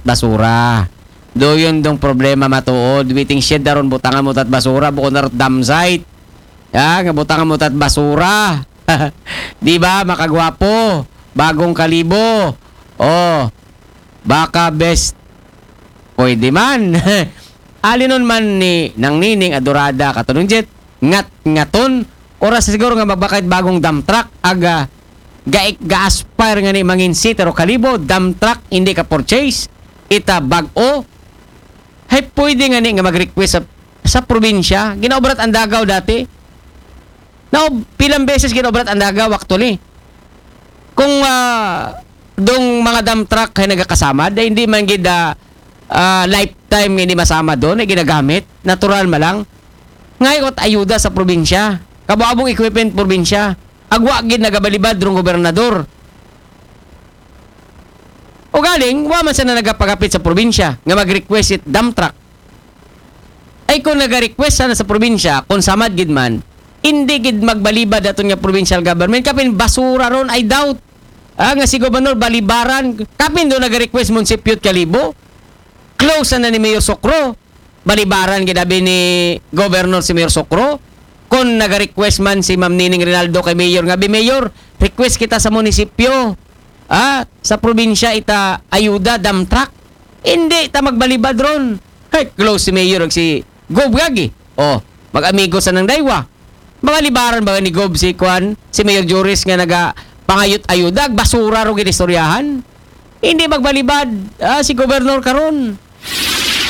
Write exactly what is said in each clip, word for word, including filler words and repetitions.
basura. Doon dong problema matuod. Waiting shed daron butangan mo tat basura, bukod na rot dump site. Ya, nga butangan mo tat basura. Di ba, makagwapo? Bagong Kalibo. Oh, baka best. Pwede man. Alinon man ni Nang Nining Adorada katunong jet, ngat-ngaton, oras siguro nga magbakay bagong dump truck, aga, gaik, ga-aspire nga ni mangin city ro Kalibo, dump truck, hindi ka purchase, ita bag-o. Hay pwede nga ni nga mag-request sa, sa probinsya, ginaobrat ang dagaw dati. Now, pilang beses ginaobrat ang dagaw, actually. Kung ah, dong mga dump truck ay nagakasama, dahil hindi man gid ah, ah, lifetime hindi masama doon, ay ginagamit, natural ma lang. Ngayon, at ayuda sa probinsya, kabuabong equipment probinsya, agwa gid nagabalibad rong gobernador. O galing, wa man sana nagapagapit sa probinsya nga mag-request it dump truck. Ay kung naga-request sana sa probinsya, kung samad gid man, hindi gid magbalibad aton nga provincial government, kapin basura ron, I doubt. Ah, nga si Gobernador balibaran, kapin do naga-request munisipyo Kalibo, close na ni Mayor Sokro, balibaran gid abi ni Governor si Mayor Sokro. Kung naga-request man si Ma'am Nining Rinaldo kay Mayor nga, "Bi Mayor, request kita sa munisipyo, ah, sa probinsya ita ayuda, dump truck." Hindi ta magbalibad ron. Ay, close si Mayor ag si Gob gagi. Oh, mag-amigo sa nang daywa. Mga libaran ba ni Gob si Kwan, si Mayor Joris nga naga pangayot ayuda, basura ro ginistoryahan. Hindi magbalibad ah, si Gobernador karon.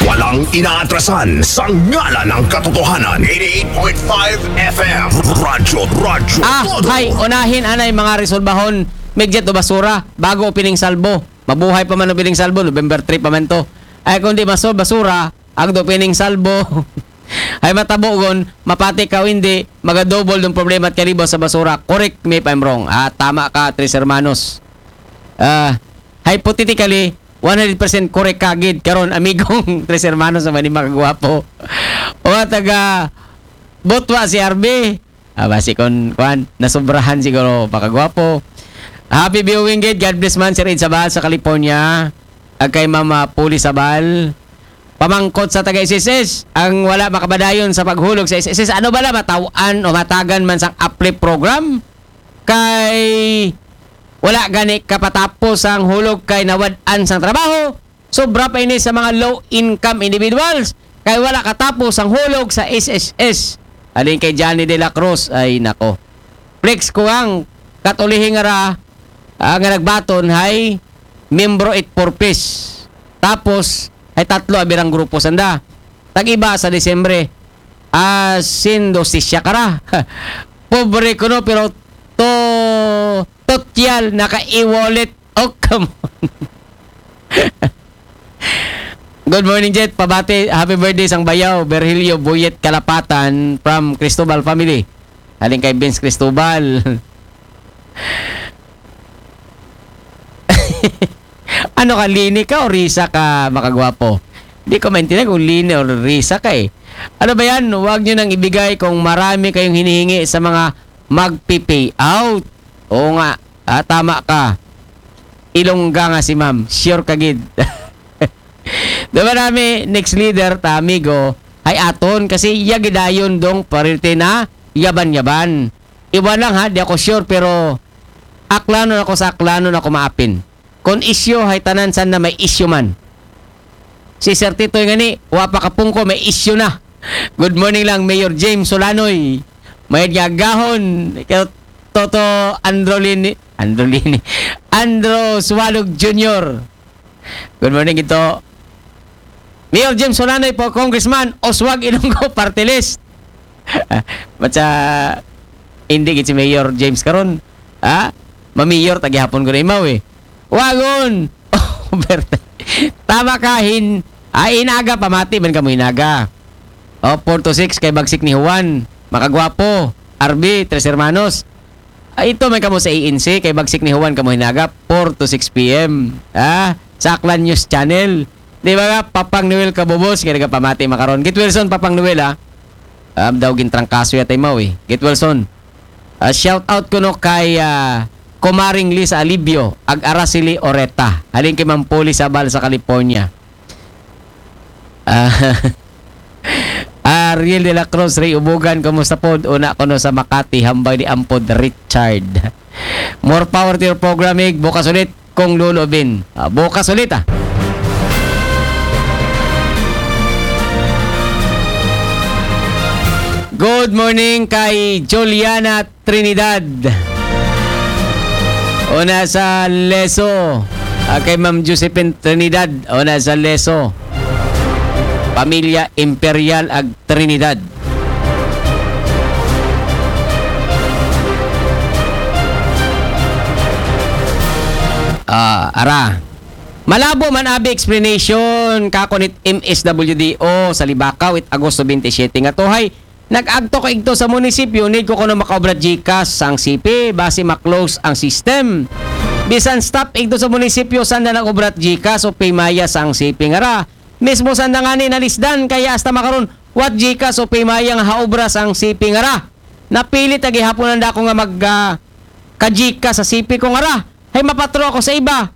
Walang inaatrasan sa ngalan ng katotohanan. eighty-eight point five F M. Radyo, radyo, Ah, todo. Hay, unahin anay mga resolbahon, Migjet o basura, bago opening salbo. Mabuhay pa man opening salbo, November three pa man to. Ay, kung di maso, basura, agdo opening salbo. Ay, matabugon, mapati ka o hindi, magadouble ng problema at kalibo sa basura. Correct me if I'm wrong. Ah, tama ka, Tres Hermanos. Ah, hypothetically, one hundred percent correct ka gid karon, amigong Tres Hermanos sa Manima Kagwapo. O taga Botwa si R B. Ah, basi kon, kwan, nasubrahan siguro pakagwapo. Happy viewing gid. God bless man, Sir Ed Sabal sa California. Ag kay Mama Puli Sabal. Pamangkot sa taga S S S, ang wala makabadayon sa paghulog sa S S S, ano bala, mataw-an o matagan man sang uplift program? Kay wala gani kapatapos ang hulog kay nawad-an sang trabaho. Sobra pa ini sa mga low income individuals kay wala katapos ang hulog sa S S S. Alin kay Johnny De La Cruz, ay nako. Flex ko ang katulihi nga ra, ah, nga nagbaton hay miyembro it purpose. Tapos hay tatlo abirang grupo sanda. Tag-iba sa Disyembre. Ah, sindo si siya kara. Pobre ko no, pero to totyal naka-e-wallet. Oh, come on. Good morning, Jet. Pabati, happy birthday sang bayaw, Virgilio Buyet Kalapatan from Cristobal family. Halin kay Vince Cristobal. Ano ka, Lini ka o Risa ka, makagwapo? Di ko maintindihan kung Lini o Risa ka eh. Ano ba yan? Huwag nyo nang ibigay kung marami kayong hinihingi sa mga magpi-pay out. Oo nga. Ah, tama ka. Ilongga nga si ma'am. Sure ka gid. Diba nami, next leader ta, amigo, ay aton kasi iya gidayon dong priority na yaban-yaban. Iwan lang ha, di ako sure, pero aklanon ako sa aklanon ako maapin. Kon isyu hay tanan san na may isyu man. Si Sir Titoy nga ni, wa pa kapungko, may isyu na. Good morning lang, Mayor James Solanoy. Mayad nga agahon, kay Toto Androlini, Androlini, Andro Suwalog Junior. Good morning, ito. Mayor James Solanoy po, Congressman Oswag Ilonggo, party list. Matsa, hindi gid si Mayor James karon. Ha? Mamayor, tagihapon ko na imaw eh. Wagon! Oh, Berta. Tama ka, hin, ah, inaga, pamati man kamo inaga. Oh, four to six kay Bagsik ni Juan. Makagwapo. R B, Tres Hermanos. Ah, ito man kamo sa A N C, kay Bagsik ni Juan kamo hinaga, four to six P M. Ah, sa Aklan News Channel. Di ba nga, Papang Noel Kabubos, kaya nagapamati makaron. Git Wilson, Papang Noel, ah. Um, daw gintrangkaso yata imaw eh. Git Wilson. Ah, shout out ko no kay ah, Kumaring Lisa Alibio, ag Araceli Oreta. Halin kay Ma'am Poli Sabal sa California. Ah, Ariel de la Cruz, Ray Ubugan, kumusta pod? Una kuno sa Makati, hambal ni Ampod Richard. More power to your program, Mig. Bukas ulit, Kong Lolo Bin. Ah, bukas ulit, ah. Good morning kay Juliana Trinidad. Una sa Leso. Ah, kay Ma'am Josephine Trinidad. Una sa Leso. Pamilya Imperial ag Trinidad. Ah, ara. Malabo man abi explanation kako nit M S W D O sa Libacao it Agosto twenty-seven nga tuhay. Nag-agto ko igto sa munisipyo, need ko kuno makaobra GCash ang C P, basi ma-close ang system. Bisan stop igto sa munisipyo, sanda nag-obra GCash o Paymaya sa ang C P nga ra. Mismo sanda ngani nalisdan, kaya hasta makaron, what GCash o Paymaya nga haobra sa ang C P nga ra. Napilit agi hapon ang dako nga mag ah, ka GCash sa C P ko nga ra. Hay mapatro ako sa iba.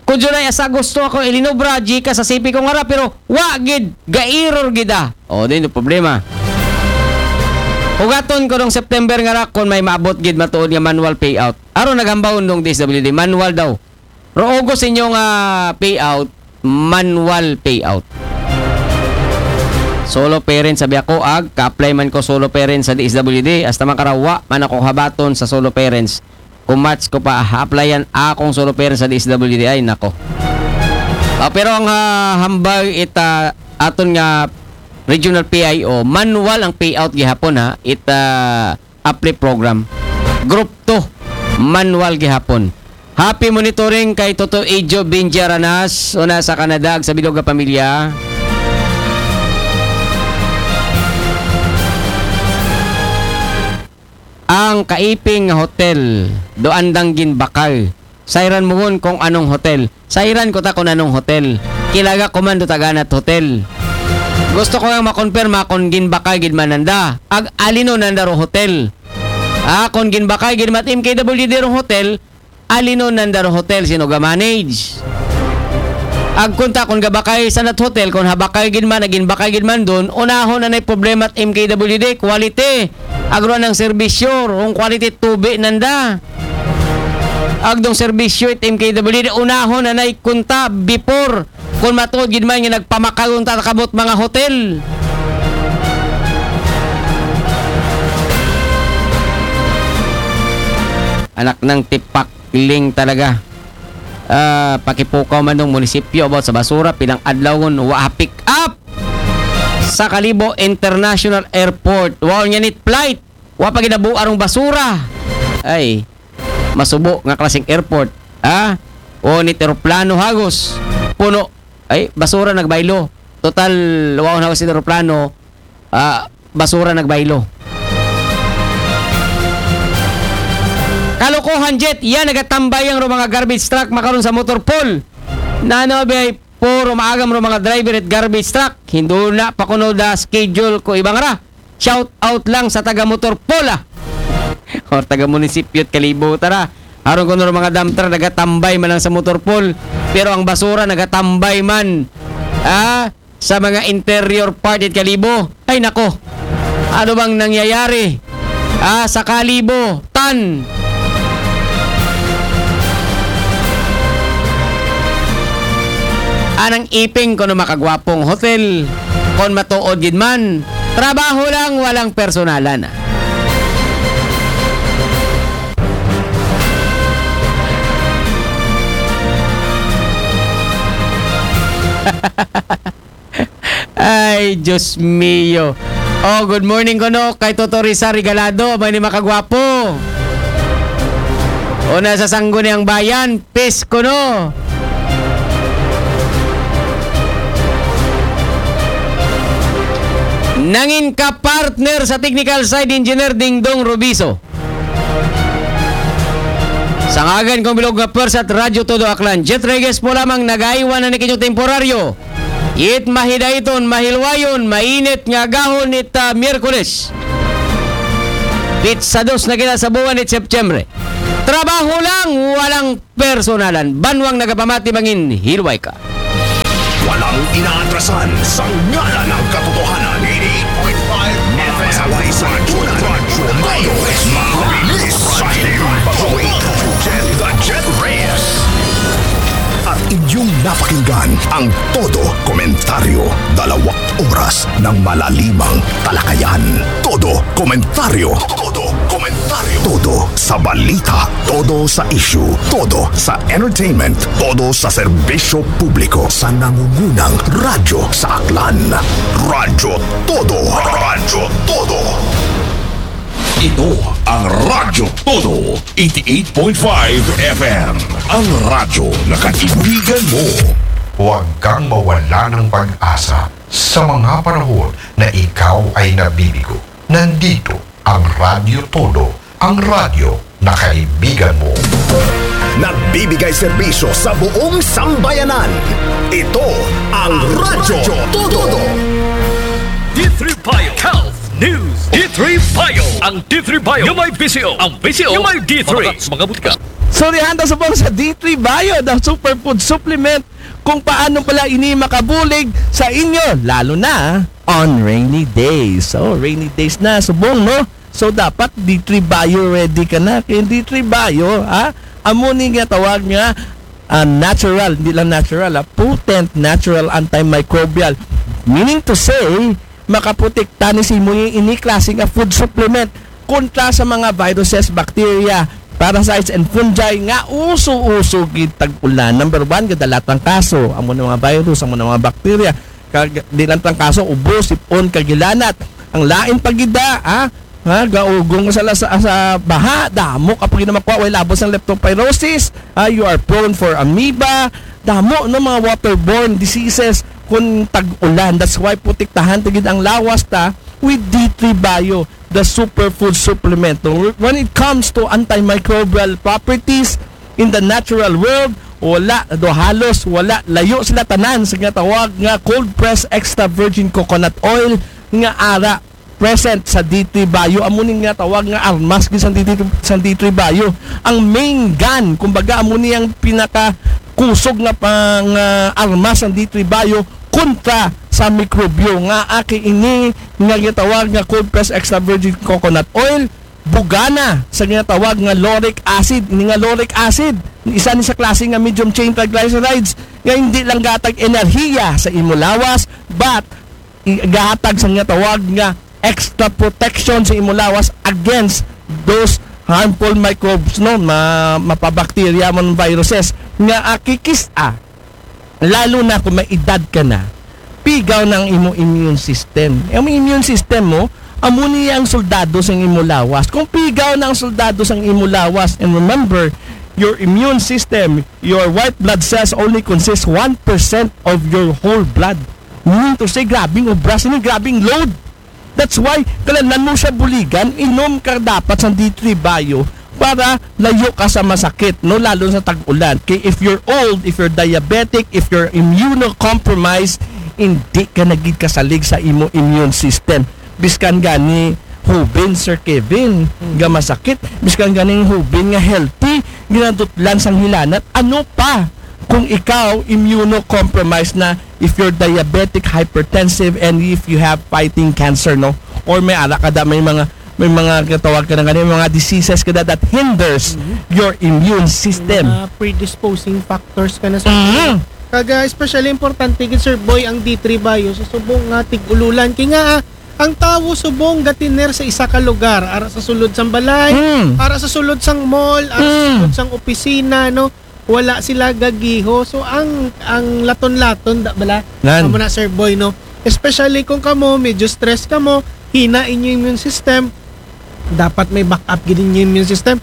Kung July hasta Agosto ako ilinobra, GCash sa C P ko nga ra, pero wa gid, ga-error gid ah. O, din yung problema. Hugaton ko nung September nga ra kung may maabot gid matuod nga manual payout. Aron naghambawon dong D S W D, manual daw. Ro August inyong ah, payout, manual payout. Solo parent sabi ako, ag ka-apply man ko solo parent sa D S W D, hasta man karawa man ako habaton sa solo parents. Kung match ko pa, ha-applyan akong solo parent sa D S W D, ay nako. Ah, pero ang ah, hambal ita aton nga regional P I O, manual ang payout gihapon ha, ita uplift program. Group two, manual gihapon. Happy monitoring kay Toto Ijo Binja Ranas, una sa Canada, ag sa bilog nga pamilya. Ang kaiping nga hotel, do andang ginbakal. Sayran mo ngun kung anong hotel. Sayran ko ta kung anong hotel. Kilaga ko man do taganat hotel. Gusto ko lang makonfirma kung ginbakal gid man nanda. Ag alino nanda ro hotel. Ah, kung ginbakal gid mat M K W D ro hotel, alino nanda ro hotel sino ga manage. Ag kunta kung gabakay sa nat hotel, kung habakay gid man, naging bakay gid man dun, unahon na nay problema at M K W D, quality. Agro ng serbisyo, kung quality tubi nanda. Agdong serbisyo it M K W D, unahon na nay kunta before kung matuod gid man nga nagpamakayon ta kabot mga hotel. Anak ng tipak ling talaga. Ah, pakipukaw man ng munisipyo about sa basura, pilang adlaw ngun wa pick up sa Kalibo International Airport. Wa niya nit flight. Wa pa ginabuo arong basura. Ay, masubo nga klaseng airport. Ah, o nit eroplano hagos. Puno. Ay, basura nagbaylo. Total, wa na hagos eroplano. Ah, basura nagbaylo. Kalokohan jet, yan nagatambay ang mga garbage truck makaron sa motor pool. Nano biyay puro maagam ro mga driver at garbage truck. Hinduna pa kuno da schedule ko ibang ra. Shout out lang sa taga motor pool ah. Or taga munisipyo at Kalibo tara. Aron kuno ro mga dump truck nagatambay man lang sa motor pool. Pero ang basura nagatambay man. Ah, sa mga interior part it Kalibo. Ay nako, ano bang nangyayari? Ah, sa Kalibo, tan. Anang iping kuno makagwapong hotel. Kon matuod gid man, trabaho lang, walang personalan. Ay, Diyos mio. Oh, good morning kuno kay Toto Risa Regalado, may ni makagwapo. Una sa Sangguniang Bayan, peace kuno. Nangin ka partner sa technical side engineer Dingdong Rubiso. Sa ngagan kong bilog nga pwersa at Radyo Todo Aklan, Jet Reyes po lamang nagaiwan na ni kinyo temporaryo. It mahidaiton, mahilwayon, mainit nga gahon it ah, Miyerkules. Pitsa dos na kita sa buwan it September. Trabaho lang, walang personalan. Banwang nagapamati mangin, hiluway ka. Walang inaatrasan sa ngalan ng katotohanan. Eighty-eight point five F M. Masaway sa Radyo Radyo Radyo. Mabilis sa hiling bagoy. Jen the Jet Reyes. At inyong napakinggan ang Todo Komentaryo. Dalawang oras ng malalimang talakayan. Todo Komentaryo. Todo Komentaryo. Todo sa balita. Todo sa issue. Todo sa entertainment. Todo sa serbisyo publiko. Sa nangungunang radyo sa Aklan. Radyo Todo. Radyo Todo. Ito ang Radyo Todo, eighty-eight point five F M. Ang radyo na kaibigan mo. Huwag kang mawala ng pag-asa sa mga panahon na ikaw ay nabibigo. Nandito ang Radyo Todo, ang radyo na kaibigan mo. Nagbibigay serbisyo sa buong sambayanan. Ito ang Radyo Todo. D three Bio Health News. D three Bio. Ang D three Bio yung may V C O. Ang V C O yung may D three. Mga butika. Surihan ta subong sa D three Bio, the superfood supplement, kung paano pala ini makabulig sa inyo, lalo na on rainy days. So, rainy days na, subong, no? So, dapat D three Bio ready ka na. Kaya D three Bio, ha? Amo ni nga tawag nga ah, natural, hindi lang natural, ah, potent natural antimicrobial. Meaning to say, makaprotekta ni sa imo ini klase nga food supplement kontra sa mga viruses, bacteria, parasites and fungi nga uso-uso gid tag-ulan. Number one, gadalatang kaso, amo na mga virus, amo na mga bacteria. Kag di lang tang kaso, ubo, sipon, kagilanat. Ang lain pa gid da, ha? Ha, gaugong sa, sa, sa baha, damo ka pa gid na makuha, way labot sang leptospirosis, ha, you are prone for amoeba, damo no mga waterborne diseases kung tag-ulan. That's why protektahan ta gid ang lawas ta with D three Bio, the superfood supplement. No? When it comes to antimicrobial properties in the natural world, wala do halos wala, layo sila tanan sa nga tawag nga cold press extra virgin coconut oil nga ara present sa D three Bio. Amo ni nga tawag nga armas gid sa D three, sa D three Bio. Ang main gun, kumbaga, amo ni ang pinaka kusog nga pang ah, armas sa D three Bio kontra sa mikrobyo nga aki ini nga gitawag nga cold press extra virgin coconut oil, bugana sa ginatawag nga lauric acid. Ini nga lauric acid, isa ni sa klase nga medium chain triglycerides nga hindi lang gatag enerhiya sa imo lawas, but i- gahatag sa ginatawag nga extra protection sa imo lawas against those harmful microbes, no, ma, mapabakterya man, viruses nga akikis-a, lalo na kung may edad ka na, pigaw na ang imo immune system. Ang immune system mo, amo niya ang soldado sa imo lawas. Kung pigaw na ang soldado sa imo lawas, and remember, your immune system, your white blood cells only consists one percent of your whole blood. Meaning to say, grabing obra, sini grabing load. That's why, kailangan mo siya buligan, inom ka dapat sa D three Bio para layo ka sa masakit, no? Lalo sa tag-ulan. Kay if you're old, if you're diabetic, if you're immunocompromised, hindi ka nagid kasalig sa imo immune system. Biskan gani hubin, Sir Kevin, nga masakit. Biskan ganing hubin nga healthy, ginadutlan sang hilanat. Ano pa kung ikaw immunocompromised na, if you're diabetic, hypertensive, and if you have fighting cancer, no? Or may ara ka da, may mga, may mga katawag ka na gani, mga diseases ka da that hinders your immune system. Mga predisposing factors ka na sa Mhm. Kaga especially importante gid, Sir Boy, ang D three Bio sa subong nga tig-ululan. Kay nga ah, ang tawo subong gatiner sa isa ka lugar, ara sa sulod sang balay, Mm. ara sa sulod sang mall, ara sa Mm. sulod sang opisina, no? Wala sila gagiho. So ang ang laton-laton da bala. Nan. Amo na, Sir Boy, no? Especially kung kamo medyo stress kamo, hina inyo immune system, dapat may backup gid inyo immune system.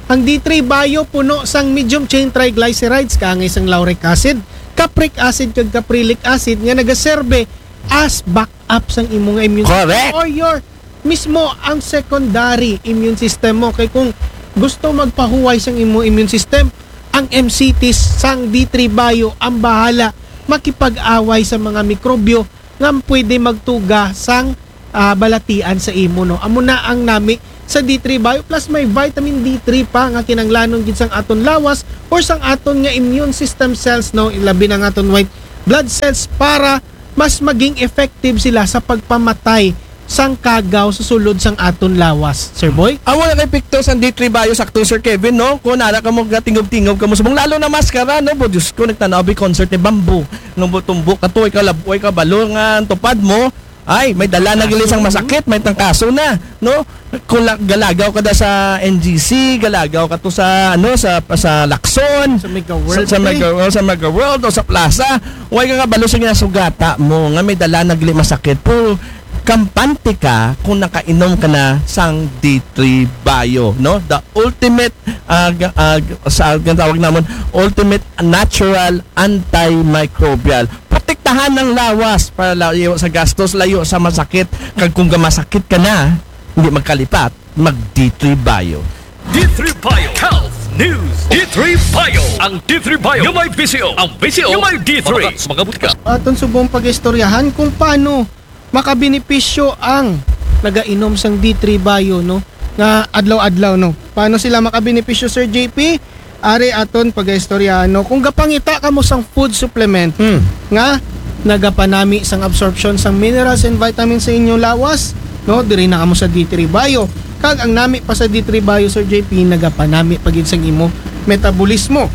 Ang D three Bio puno sang medium chain triglycerides, kaangay sang lauric acid, capric acid kag caprylic acid nga nagaserbe as backup sang imo nga immune Correct. system or your mismo ang secondary immune system mo. Kay kung gusto magpahuway sang imo immune system, ang M C Ts sang D three Bio ang bahala makipag-away sa mga mikrobyo nga pwede magtuga sang ah, balatian sa imo, no? Amo na ang nami sa D three Bio, plus may vitamin D three pa nga kinanglanon gid sang aton lawas or sang aton nga immune system cells, no, labi na nga aton white blood cells, para mas maging effective sila sa pagpamatay sang kagaw sa sulod sang aton lawas, Sir Boy. Amo na kay epekto sang D three Bio, sakto, Sir Kevin, no? Kung nara ka mo, gatingob-tingob ka mo subong, lalo na maskara, no? Bo, Diyos ko, nagtanaw bi concert ni Bamboo. Nung butumbo ka to, ikaw lab-, ikaw balo nga ang tupad mo. Ay, may dala na gili sang masakit, may tangkaso na, no? Kung la-, galagaw ka da sa N G C, galagaw ka to sa, ano, sa, sa Lacson, Sa Mega World, sa, sa eh. Mega World, sa Mega World o sa Plaza, way ka kabalo sa ginasugata mo nga may dala na gili masakit. Pero kampante ka kung nakainom ka na sang D three Bio, no? The ultimate, ah, ga- ah, ga- sa, ang tawag naman, ultimate natural antimicrobial. Protektahan ang lawas para layo sa gastos, layo sa masakit. Kag kung gamasakit ka na, hindi magkalipat, mag D three Bio. D three Bio Health News. D three Bio. Ang D three Bio nga may bisyo. Ang bisyo nga may D three. Makabuti ka. Aton subong pag-istoryahan kung paano makabenepisyo ang nagainom sang D three Bio, no? Nga adlaw-adlaw, no? Paano sila makabenepisyo, Sir J P? Ari aton pag-istoryahan, no? Kung gapangita ka mo sang food supplement, Hmm. nga nagapanami sang absorption sang minerals and vitamins sa inyong lawas, no? Diri na kamo sa D three Bio. Kag ang nami pa sa D three Bio, Sir J P, nagapanami pa gid sang imo metabolismo.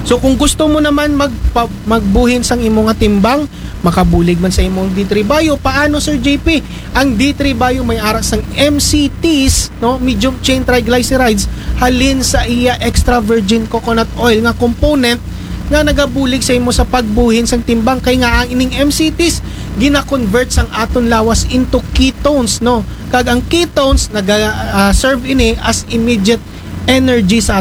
So kung gusto mo naman magpa- magbuhin sang imo nga timbang, makabulig man sa imong D three Bio, paano, Sir J P? Ang D three Bio may ara sang M C Ts, no? Medium chain triglycerides, halin sa iya extra virgin coconut oil nga component nga nagabulig sa imo sa pagbuhin sang timbang, kay nga ang ining M C Ts gina-convert sang aton lawas into ketones, no? Kag ang ketones naga ah, serve ini as immediate energy sa